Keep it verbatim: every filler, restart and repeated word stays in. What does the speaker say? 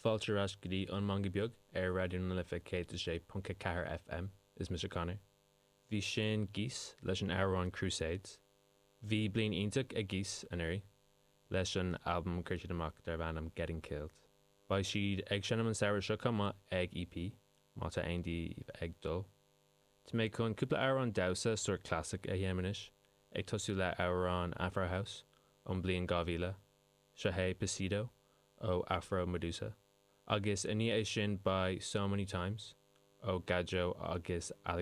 Fáilte ar ais go dtí an Meangadh Beag ar Raidió na Life céad a sé ponc a ceathair FM is mise Conor. Bhí sin Geese leis an amhrán Crusades. Bhí bliain iontach ag Geese anuraidh leis an albam chuir siad amach darb ainm Getting Killed. Beidh siad ag seinm an samhradh seo chomh maith ag EP má tá aon díobh ag dul. Tá mé chun cúpla amhrán damhsa sort classic a dhéanamh anois, ag tosú le amhrán Afro House ón bliain dhá mhíle, seo é Pasito ó Afro Medusa. Agus i ndiaidh sin beidh So Many Times ó Gadjo agus Alex